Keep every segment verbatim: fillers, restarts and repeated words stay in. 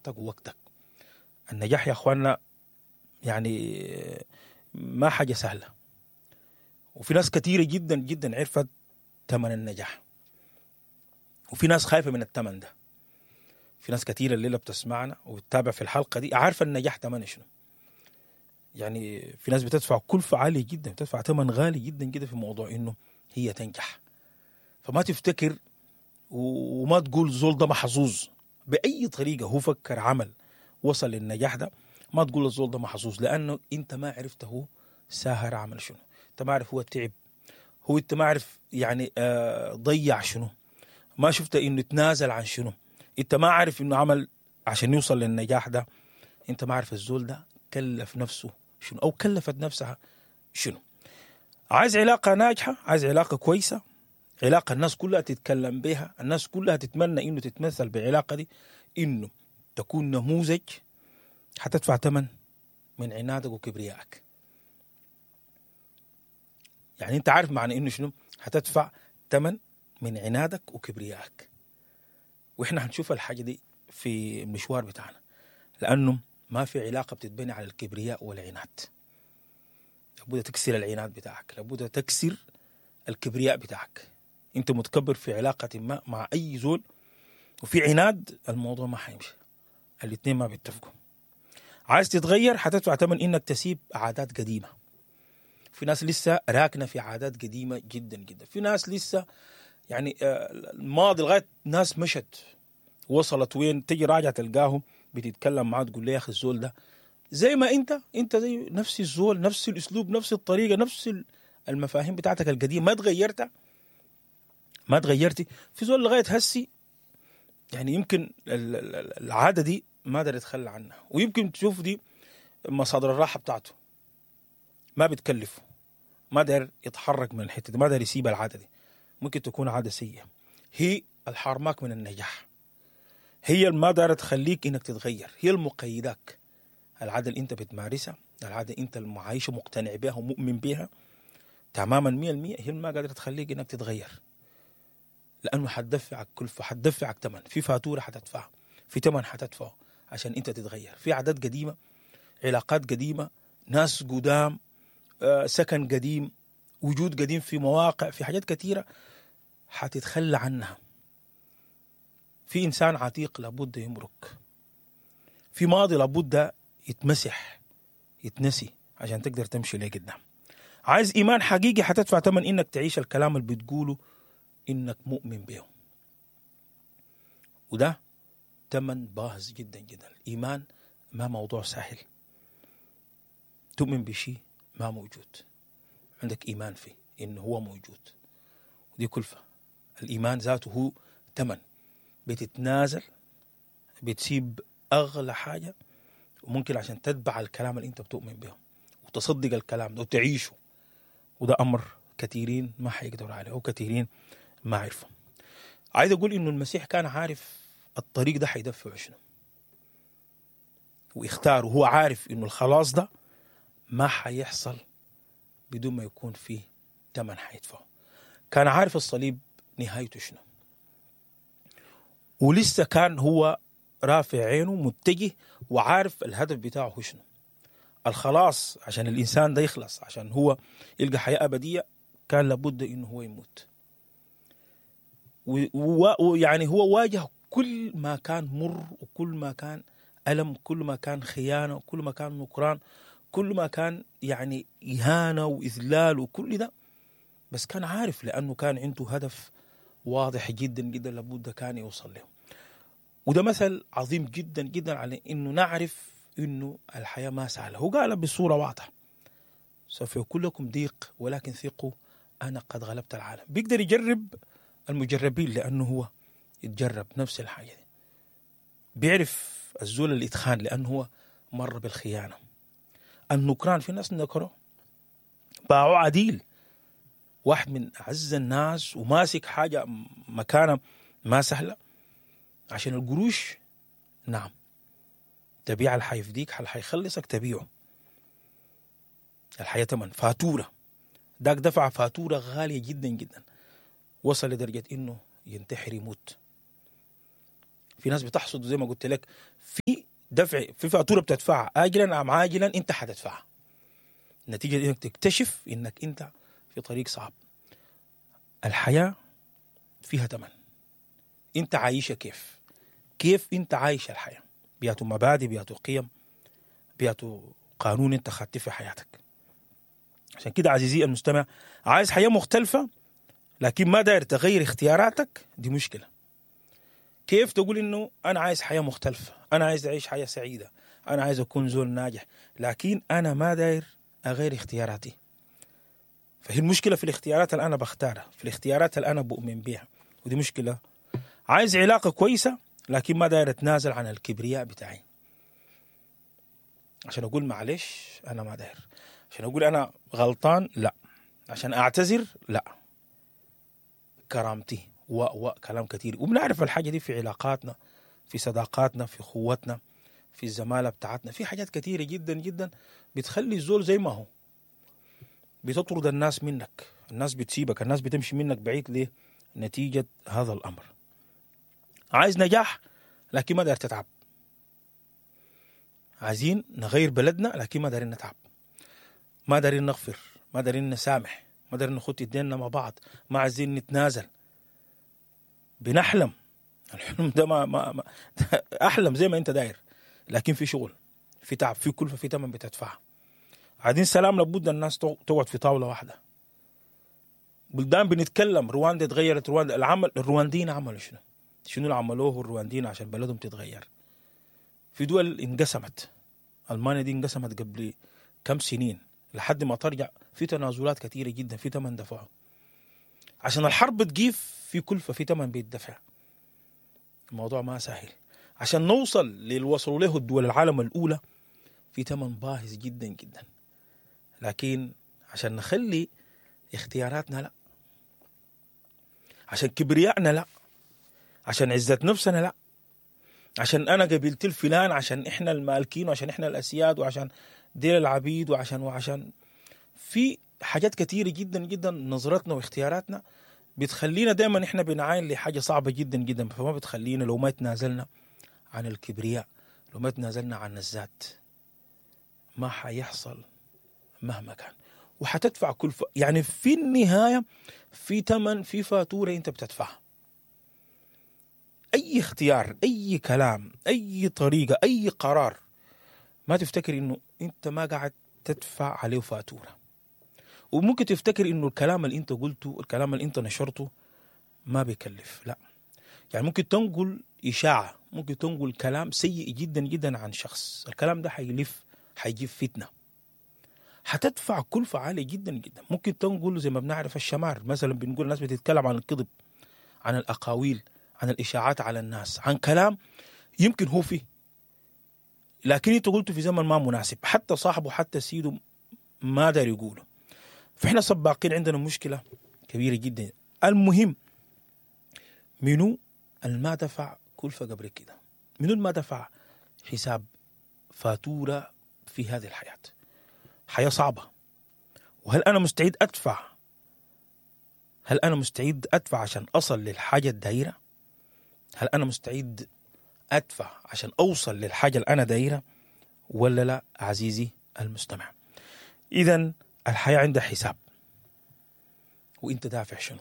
راحتك ووقتك. النجاح يا اخوانا يعني ما حاجة سهلة، وفي ناس كثيرة جدا جدا عرفت ثمن النجاح، وفي ناس خايفة من الثمن ده. في ناس كثيرة الليلة بتسمعنا وبتتابع في الحلقة دي عارفه النجاح ثمنه شنو. يعني في ناس بتدفع كلفه عالية جدا، بتدفع ثمن غالي جدا جدا في موضوع انه هي تنجح. فما تفتكر وما تقول زول ده محظوظ باي طريقه هو فكر عمل وصل للنجاح ده، ما تقول الزول ده محظوظ، لانه انت ما عرفت هو ساهر عمل شنو، انت ما عارف هو تعب، هو انت ما عارف يعني آه ضيع شنو، ما شفت انه تنازل عن شنو، انت ما عارف انه عمل عشان يوصل للنجاح ده، انت ما عارف الزول ده كلف نفسه شنو او كلفت نفسها شنو. عايز علاقة ناجحة، عايز علاقة كويسة، علاقة الناس كلها تتكلم بها، الناس كلها تتمنى انه تتمثل بعلاقة دي، انه تكون نموذج، حتدفع ثمن من عنادك وكبريائك. يعني انت عارف معنى انه شنو؟ حتدفع ثمن من عنادك وكبريائك. واحنا هنشوف الحاجة دي في المشوار بتاعنا، لانه ما في علاقة بتتبني على الكبرياء والعناد. لابد تكسر العناد بتاعك، لابد تكسر الكبرياء بتاعك. انت متكبر في علاقة ما مع اي زول وفي عناد، الموضوع ما حيمشي، الاثنين ما بيتفقوا. عايز تتغير حتدفع ثمن انك تسيب عادات قديمة. في ناس لسه راكنه في عادات قديمة جدا جدا، في ناس لسه يعني الماضي لغاية ناس مشت وصلت وين، تجي راجع تلقاهم بتتكلم معاه تقول له يا اخي الزول ده زي ما انت، انت زي نفس الزول، نفس الاسلوب، نفس الطريقة، نفس المفاهيم بتاعتك القديمة، ما تغيرت، ما تغيرتي. في زول لغاية هسي يعني يمكن العادة دي ما قدر يتخلى عنها، ويمكن تشوف دي مصادر الراحة بتاعته، ما بتكلفه، ما داير يتحرك من الحتة دي، ما داير يسيب العادة دي. ممكن تكون عادة سيئه، هي الحارماك من النجاح، هي ما دايرة تخليك انك تتغير، هي المقيداك. العادة اللي انت بتمارسها، العادة انت المعايشه مقتنع بها ومؤمن بها تماما مية المية، هي ما قادرة تخليك انك تتغير، لانه حتدفعك كلفه، حتدفعك ثمن، في فاتورة حتدفعها، في ثمن حتدفعه عشان انت تتغير. في عادات قديمة، علاقات قديمة، ناس قدام، آه، سكن قديم، وجود قديم في مواقع، في حاجات كثيرة حتتخلى عنها. في انسان عتيق لابد يمرك، في ماضي لابد يتمسح يتنسي عشان تقدر تمشي لقدام. عايز ايمان حقيقي حتدفع ثمن انك تعيش الكلام اللي بتقوله انك مؤمن به، وده ثمن باهظ جدا جدا. الايمان ما موضوع سهل، تؤمن بشيء ما موجود، عندك ايمان فيه انه هو موجود، ودي كلفه. الايمان ذاته هو ثمن، بتتنازل، بتسيب اغلى حاجة وممكن عشان تتبع الكلام اللي انت بتؤمن به وتصدق الكلام ده وتعيشه، وده امر كثيرين ما حيقدروا عليه وكثيرين ما عرفوا. عايز اقول انه المسيح كان عارف الطريق ده حيدفعه شنو، واختاره، هو عارف انه الخلاص ده ما حيحصل بدون ما يكون فيه ثمن حيدفعه. كان عارف الصليب نهايته شنو، ولسه كان هو رافع عينه متجه وعارف الهدف بتاعه شنو، الخلاص عشان الإنسان ده يخلص، عشان هو يلقى حياة أبدية، كان لابد إنه هو يموت. ويعني هو واجه كل ما كان مر، وكل ما كان ألم، كل ما كان خيانة، وكل ما كان نكران، كل ما كان يعني إهانة وإذلال وكل ده، بس كان عارف لأنه كان عنده هدف واضح جدا جدا لابد كان يوصل له. وده مثل عظيم جدا جدا على إنه نعرف إنه الحياة ما سهلة. هو قال بصورة واضحة، سوف يكون لكم ضيق ولكن ثقوا أنا قد غلبت العالم. بيقدر يجرب المجربين لأنه هو يتجرب نفس الحاجة دي، بيعرف الزول اللي اتخان لأنه هو مر بالخيانة. النكران، في ناس نكروا باعوا عديل، واحد من أعز الناس وماسك حاجة مكانة ما سهلة عشان القروش. نعم، تبيع اللي حيفديك، اللي حيخلصك تبيعه. الحياة تمن فاتورة، داك دفع فاتورة غالية جدا جدا، وصل لدرجة إنه ينتحر يموت. في ناس بتحصد زي ما قلت لك في دفع، في فاتورة بتدفعها اجلا ام عاجلا، انت حتدفعها. نتيجة انك تكتشف انك انت في طريق صعب. الحياة فيها ثمن، انت عايشه كيف؟ كيف انت عايش الحياة؟ بياتو مبادئ، بياتو قيم، بياتو قانون انت خدته في حياتك. عشان كده عزيزي المستمع، عايز حياة مختلفة لكن ما داير تغير اختياراتك، دي مشكلة. كيف تقول انه انا عايز حياة مختلفة، انا عايز اعيش حياة سعيدة، انا عايز اكون زول ناجح، لكن انا ما داير اغير اختياراتي؟ فهي المشكلة في الاختيارات اللي انا بختارها، في الاختيارات اللي انا بؤمن بها، ودي مشكلة. عايز علاقة كويسة لكن ما داير اتنازل عن الكبرياء بتاعي، عشان اقول معلش انا ما داير، عشان اقول انا غلطان لا، عشان اعتذر لا، كرامتي و و كلام كثير. وبنعرف الحاجة دي في علاقاتنا، في صداقاتنا، في خوتنا، في الزمالة بتاعتنا، في حاجات كثيرة جدا جدا بتخلي الزول زي ما هو، بتطرد الناس منك، الناس بتسيبك، الناس بتمشي منك بعيد. ليه؟ نتيجة هذا الامر. عايز نجاح لكن ما داير تتعب، عايزين نغير بلدنا لكن ما دايرين نتعب، ما دايرين نغفر، ما دايرين نسامح، ما دايرين نخط ايدينا مع بعض، ما عايزين نتنازل. بنحلم، الحلم ده ما, ما, ما احلم زي ما انت داير، لكن في شغل، في تعب، في كلفه، في ثمن بتدفعها. عايزين سلام، لابد الناس تقعد في طاولة واحدة. بلدان بنتكلم، رواندا اتغيرت، رواندا العمل، الروانديين عملوا شنو؟ شنو اللي عملوه الروانديين عشان بلدهم تتغير؟ في دول انقسمت، المانيا دي انقسمت قبل كم سنين لحد ما ترجع، في تنازلات كثيرة جدا، في ثمن دفعه عشان الحرب تقيف، في كلفه، في ثمن بيدفع. الموضوع ما سهل. عشان نوصل للي وصلوا له الدول العالم الاولى في ثمن باهظ جدا جدا، لكن عشان نخلي اختياراتنا لا، عشان كبريائنا لا، عشان عزة نفسنا لا، عشان انا قبيلتي الفلان، عشان احنا المالكين، وعشان احنا الاسياد، وعشان ديل العبيد، وعشان وعشان في حاجات كثيرة جدا جدا. نظرتنا واختياراتنا بتخلينا دائما احنا بنعاين لحاجة صعبة جدا جدا، فما بتخلينا لو ما تنازلنا عن الكبرياء، لو ما تنازلنا عن الذات، ما حيحصل مهما كان، وحتدفع كل ف... يعني في النهاية في ثمن، في فاتورة انت بتدفعها. اي اختيار، اي كلام، اي طريقه، اي قرار، ما تفتكر انه انت ما قاعد تدفع عليه فاتورة. وممكن تفتكر انه الكلام اللي انت قلته، الكلام اللي انت نشرته ما بيكلف، لا. يعني ممكن تنقل اشاعة، ممكن تنقل كلام سيء جدا جدا عن شخص، الكلام ده حيلف، حيجيب فتنة، حتدفع كلفه عالية جدا جدا. ممكن تنقل زي ما بنعرف الشمار مثلا، بنقول الناس بتتكلم عن الكذب، عن الاقاويل، عن الاشاعات على الناس، عن كلام يمكن هو فيه، لكن انت قلته في زمن ما مناسب، حتى صاحبه حتى سيده ما دار يقوله. فاحنا سباقين، عندنا مشكلة كبيرة جدا. المهم منو الما دفع كلفه قبل كده؟ منو الما دفع حساب فاتورة في هذه الحياة؟ حياة صعبة. وهل انا مستعد ادفع؟ هل انا مستعد ادفع عشان اصل للحاجة الدايرة؟ هل انا مستعد ادفع عشان اوصل للحاجة اللي انا دايرة ولا لا؟ عزيزي المستمع، اذا الحياة عندها حساب، وانت دافع شنو؟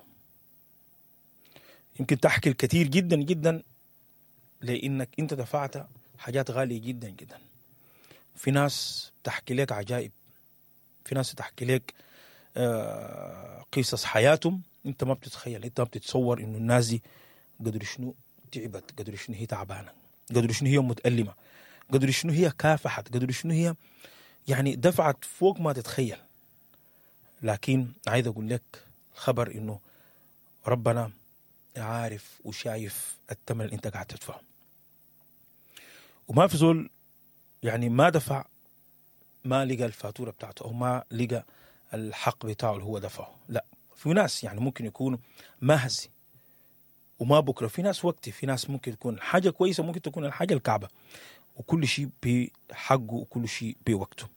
يمكن تحكي الكثير جدا جدا لانك انت دفعت حاجات غالية جدا جدا. في ناس تحكي لك عجائب، في ناس تحكي لك آه قصص حياتهم انت ما بتتخيل، انت ما بتتصور انه الناس دي قدر شنو تعبت، قدر شنو هي تعبانة، قدر شنو هي متألمه، قدر شنو هي كافحت، قدر شنو هي يعني دفعت فوق ما تتخيل. لكن عايز اقول لك خبر انه ربنا عارف وشايف الثمن اللي انت قاعد تدفعه، وما في زول يعني ما دفع ما لقى الفاتورة بتاعته او ما لقى الحق بتاعه اللي هو دفعه. لا، في ناس يعني ممكن يكونوا ما هسي وما بكره، في ناس وقتي، في ناس ممكن تكون حاجة كويسة، ممكن تكون الحاجة الكعبة، وكل شيء بحقه وكل شيء بوقته.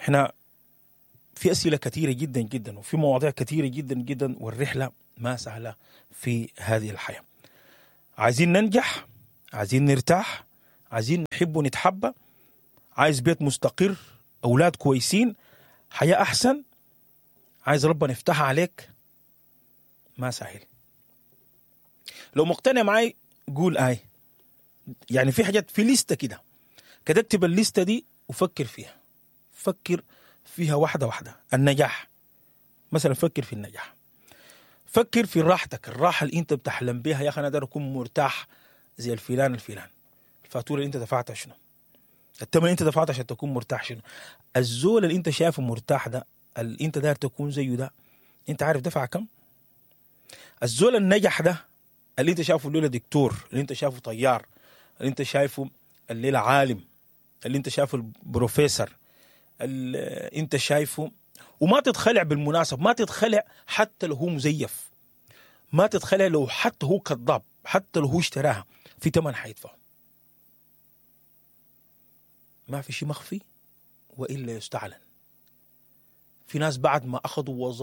احنا في اسئلة كثيرة جدا جدا، وفي مواضيع كثيرة جدا جدا، والرحلة ما سهلة في هذه الحياة. عايزين ننجح عايزين نرتاح، عايزين نحب ونتحب، عايز بيت مستقر، اولاد كويسين، حياة احسن، عايز ربنا يفتحها عليك. ما سهل. لو مقتنع معي قول اي. يعني في حاجات في لستة كده كده، اكتب الليستة دي وفكر فيها، فكر فيها واحدة واحدة. النجاح مثلا، فكر في النجاح، فكر في راحتك، الراحة اللي انت بتحلم بيها. يا اخي انا داير اكون مرتاح زي الفلان الفلان. الفاتورة اللي انت دفعتها شنو؟ الثمن اللي انت دفعته عشان تكون مرتاح شنو؟ الزول اللي انت شايفه مرتاح ده، اللي انت داير تكون زيه ده، انت عارف دفع كم؟ الزول النجح ده اللي انت شايفه الليلة دكتور، اللي انت شايفه طيار، اللي انت شايفه الليلة عالم، اللي انت شايفه البروفيسور، اللي انت شايفه، وما تتخلع بالمناسبة، ما تتخلع حتى لو هو مزيف، ما تتخلع لو حتى هو كذاب، حتى لو هو اشتراها في ثمن حيدفعه. ما في شيء مخفي والا يستعلن. في ناس بعد ما اخذوا وظائف